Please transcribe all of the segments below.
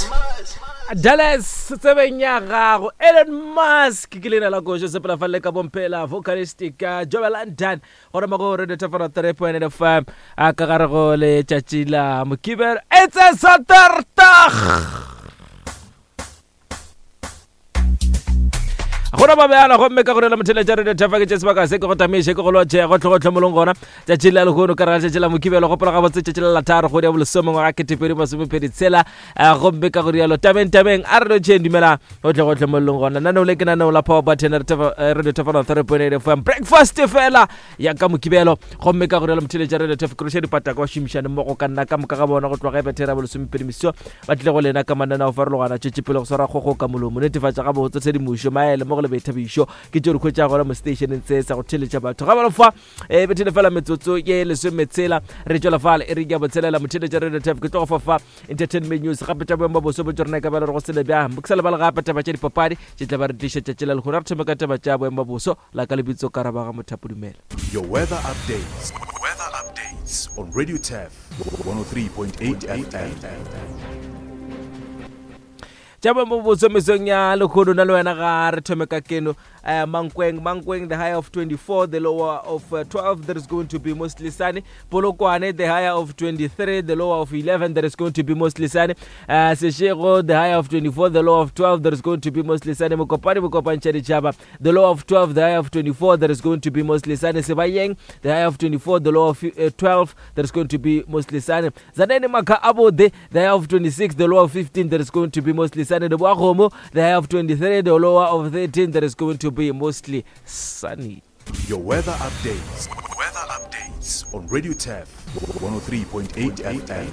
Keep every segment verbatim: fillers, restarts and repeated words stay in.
Musk. Dallas tsebeng ya gago Elon Musk ke leina la košo sepela fa le ka bomphela vocalistic Jobe London gore mo go Radio Tafara three point eight F M a ka gare go letšatši la Mokibelo it's a Saturday. Gona ba bjala gomme ka gore la motheletša Radio Tafara ke tše sebaka se ke go tamiše ke go lotše go tlhogotlho molong gona tšatši la lehono ka ra tšatši la Mokibelo gopola gabotse tšatši la latharo kgwedi ya bolesome ngwaga ketepedi masomepedi tshela gomme ka go rialo tabeng tabeng a re lotšheng dumela go tlhogotlho molong gona naneo le ke naneo la Power Button Radio Tafara three point eight F M breakfast fela ya ka Mokibelo gomme ka go rialo motheletša Radio Tafara ke roše dipataka ba šomišane mmogo ka nna ka moka ga bona go tloga ebethera bolesomepedi meso ba tlile go lena ka mananeo farologana tšwetše pele go swara kgogo ka molomo netefatša gabotse tshedimošo maele mo le boithabišo ke tšeo di hwetša gona mo stationeng se sa go theletša batho ga ba fa e bethele fela metsotso ye lesometshela re tšwela fale e re ke botshelela motheletša Radio Tafara ke tlo go fa fa entertainment news gape tša boemo boso bo tšo rena ka bela re go sele bjang ke sa lebala gape taba tša dipapadi tše tla ba re tliša tšatši la lehono re thome ka taba tša boemo boso la ka lebitso Karabaga Mothapo dumela. Your weather updates. Weather updates on Radio Taf one oh three point eight F M. Tša boemo boso mesong ya lehono na le wena ga re thome ka keno uh, Mankweng Mankweng the higher of twenty-four, the lower of uh, twelve, there is going to be mostly sunny. Polokwane the higher of twenty-three, the lower of eleven, there is going to be mostly sunny. uh, Seshego the higher of twenty-four, the lower of twelve, there is going to be mostly sunny. Mokopane Mokopane Tšhaba the lower of twelve, the higher of twenty-four, there is going to be mostly sunny. Sebayeng the higher of twenty-four, the lower of uh, twelve, there is going to be mostly sunny. Zaneni Maka Abode the higher of twenty-six, the lower of fifteen, there is going to be mostly sunny. The high of twenty-three, the lower of thirteen, there is going to be mostly sunny. Your weather updates. Weather updates on Radio Taf one oh three point eight F M.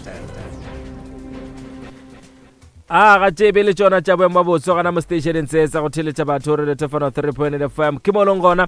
A ga tšebe le tšona tša boemo botso gona mo stationeng se sa go theletša batho Radio Tafara three point eight F M ke molong gona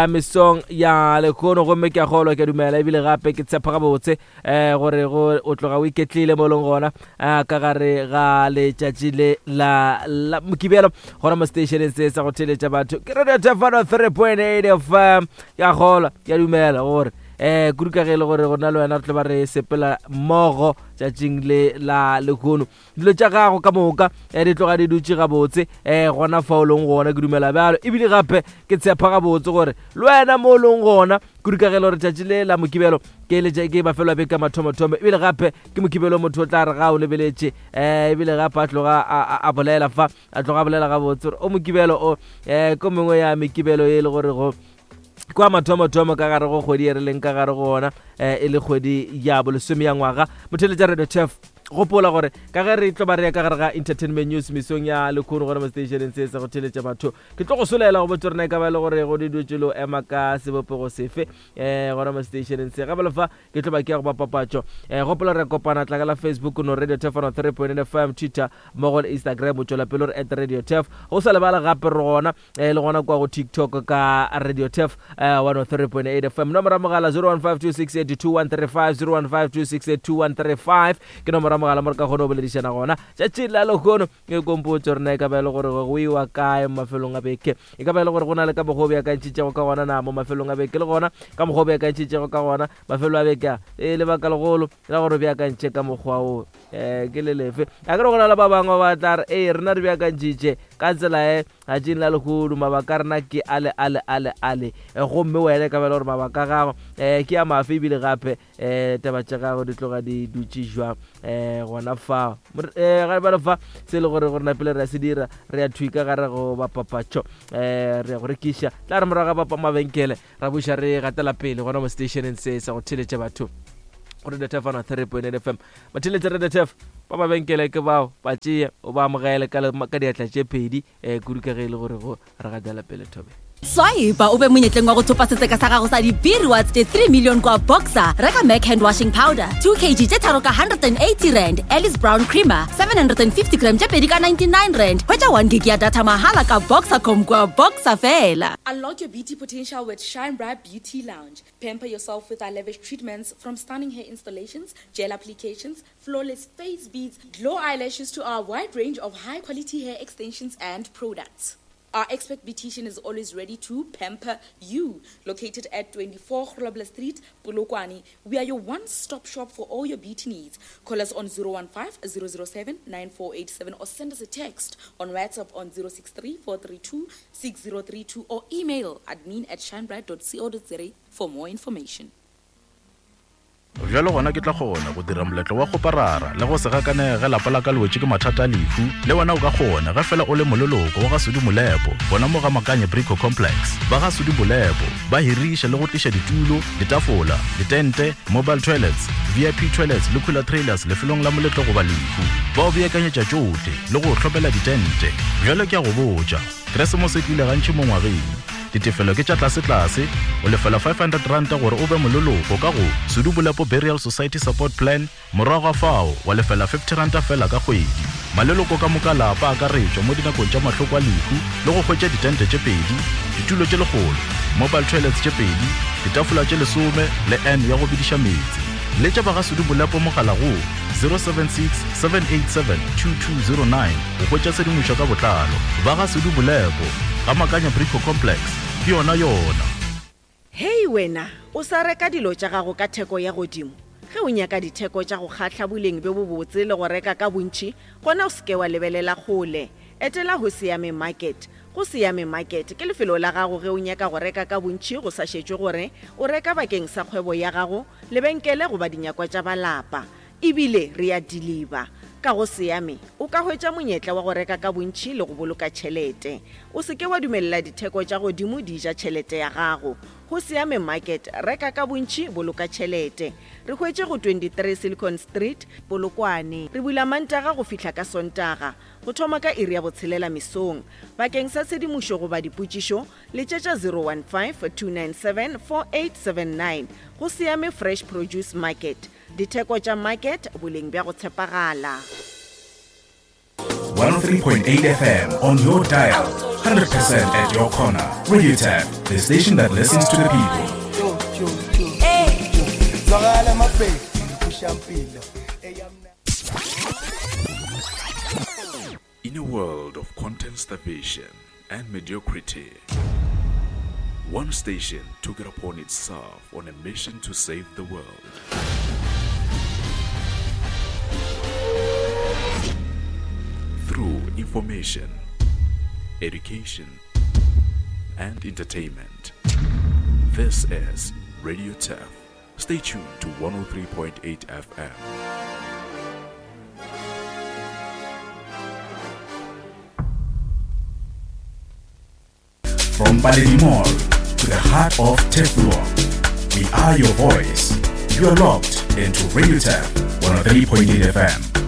mesong ya lehono gomme ke a kgolwa ke a dumela ebile gape ke tshepa gabotse um gore go o tloga o iketlile molong gona ka gare ga letšatši le la la Mokibelo gona mo stationeng se sa go theletša batho ke Radio Tafara three point eight F M ke a kgolwa ke a dumela gore eh kudu ka ge le gore gona le wena re tlo ba re sepela mmogo tšatšing le la lehono dilo tša gago ka moka di tloga di dutše gabotse um gona fa o leng gona ke dumela bjalo ebile gape ke tshepa gabotse gore le wena mo o leng gona kudu ka ge le gore tšatši le la Mokibelo ke ke mafelo a beke mathomothomo ebile gape ke Mokibelo motho o tla re ga o lebeletše um ebile gape a tloga a bolela fa a tloga a bolela gabotse gore o Mokibelo o um ko mengwe ya mekibelo e le gore go kwa mathomothomo ka gare go kgwedi e re leng ka gare go ona e le kgwedi ya bolesome ya ngwaga motheletša Radio Taf gopola gore ka ge re tlo ba re ya ka gare ga entertainment news mesong ya lehono gona mo stationeng se sa go theletša batho ke tlo go solela go botse rena e ka ba le gore go di dutše lo ema ka sebopego sefe um gona mo stationeng se gape lefa ke tlo ba ke ya go ba papatšo um gopola re kopana tla ka la Facebook no Radio Taf three point eight F M Twitter mmogo le Instagram o tšwela pele gore at Radio Taf go sa lebala gape re gona um le gona kwa go TikTok ka Radio Taf one oh three point eight F M nomoro ya mogala zero one five two six eight two one three five zero one five two six eight two one three five ke nomoro ya mogala mo re ka kgone go boledišana gona tšatši la lehono ke kompotso rena e ka ba e le gore go iwa kae mo mafelong a beke e ka ba e le gore go na le ka mokgwa o beakantšhitšego ka gona na mo mafelong a beke le gona ka mokgwa o beakantšhitšego ka gona mafelo a beke a e lebaka legolo la gore o beakantšhe ka mokgwa o um ke le lefe a ke re go na le ba bangwe ba tla re ee rena re beakantšhitše ka tsela e tšatšing la lehono mabaka a rena ke ale ale ale ale gomme wena e ka ba e le gore mabaka a gago um ke a mafe ebile gape um taba tša gago di tloga di dutše jwang um gona fao um ga ba le fa se e le gore gore napele re a se dira re ya thwi ka gare go bapapatšo um re ya go rekiša tla re morago ga bapa mabenkele ra buša re gatela pele gona mo stationeng se sa go theletša batho Radio Taf three point eight F M batheletša Radio Taf ba mabenkele ke bao ba tšee o ba amogele ka diatla tše pedi um kudu ka ge e le gore go re gatela pele thobe. Swipe o be monyetleng wa go thopa setseka sa gago sa di-beer rewards tše three million kwa Boxer. Reka Mac hand washing powder two kilograms tše tharo ka one hundred and eighty rand, Alice Brown creamer seven hundred and fifty gram tše pedi ka ninety-nine rand. Hwetša one gig ya data mahala ka Boxercom kwa Boxer fela. Unlock your beauty potential with Shine Bright Beauty Lounge. Pamper yourself with our lavish treatments from stunning hair installations, gel applications, flawless face beads, glow eyelashes to our wide range of high-quality hair extensions and products. Our expert beautician is always ready to pamper you. Located at twenty-four Grobler Street, Polokwane, we are your one-stop shop for all your beauty needs. Call us on zero one five, zero zero seven, nine four eight seven or send us a text on WhatsApp on zero six three, four three two, six zero three two or email admin at shinebright dot co dot za for more information. Bjalo gona ke tla kgona go dira moletlo wa kgoparara le go se gakanege lapa la ka le wetše ke mathata a lehu. Le wena o ka kgona ge fela o le moleloko wa ga Sudi Molepo gona mo ga Makanye Brico Complex. Ba ga Sudi Molepo ba hiriša le go tliša ditulo, ditafola, ditente, mobile toilets, V I P toilets le cooler trailers lefelong la moletlo goba lehu. Ba o beakanyetša tšohle le go hlopela ditente. Bjalo ke a go botša, Keresemose e tlile gantši mo ngwageng. Ditefelo ke tša tlase-tlase, o lefela five hundred ranta gore o be moleloko ka go Sudi Molepo Burial Society Support Plan, morago ga fao wa lefela fifty ranta fela ka kgwedi. Maleloko ka moka lapa a akaretšwa mo dinakong tša mahloko a lehu le go hwetša ditente tše pedi, ditulo tše lekgolo, mobile toilets tše pedi, ditafola tše lesome le N ya go bediša meetse. Letša ba ga Sudi Molepo mogala go zero seven six, seven eight seven, two two zero nine go hwetša tshedimošo ka botlalo. Ba ga Sudi Molepo ga Makanya Brico Complex ke yona yona. Hei wena, o sa reka dilo tša gago ka theko ya godimo. Ge o nyaka ditheko tša go kgahla boleng bjo bobotse le go reka ka bontši, gona o seke wa lebelela kgole. Etela ho Siame Market. Go Siame Market ke lefelo la gago ge o nyaka go reka ka bontši go sa šetšwe gore o reka bakeng sa kgwebo ya gago, lebenkele goba dinyakwa tša balapa. Ebile re a deliver. Ka go Siame o ka hwetša monyetla wa go reka ka bontši le go boloka tšhelete. O seke wa dumelela ditheko tša godimo di ja tšhelete ya gago. Go Siame Market, reka ka bontši, boloka tšhelete. Re hwetše go twenty-three Silicon Street, Polokwane. Re bula Mantaga go fihla ka Sontaga, go thoma ka iri ya botshelela mesong. Bakeng sa tshedimošo goba dipotšišo, letšetša zero one five, two nine seven, four eight seven nine. Go Siame Fresh Produce Market. Ditheko tša market, boleng bja go tshepagala. one oh three point eight F M on your dial, hundred percent at your corner. Radio Tap, the station that listens to the people. In a world of content starvation and mediocrity, one station took it upon itself on a mission to save the world. Through information, education, and entertainment. This is Radio Turf. Stay tuned to one oh three point eight F M. From Paledimore to the heart of Teflon, we are your voice. You are locked into Radio Turf one oh three point eight F M.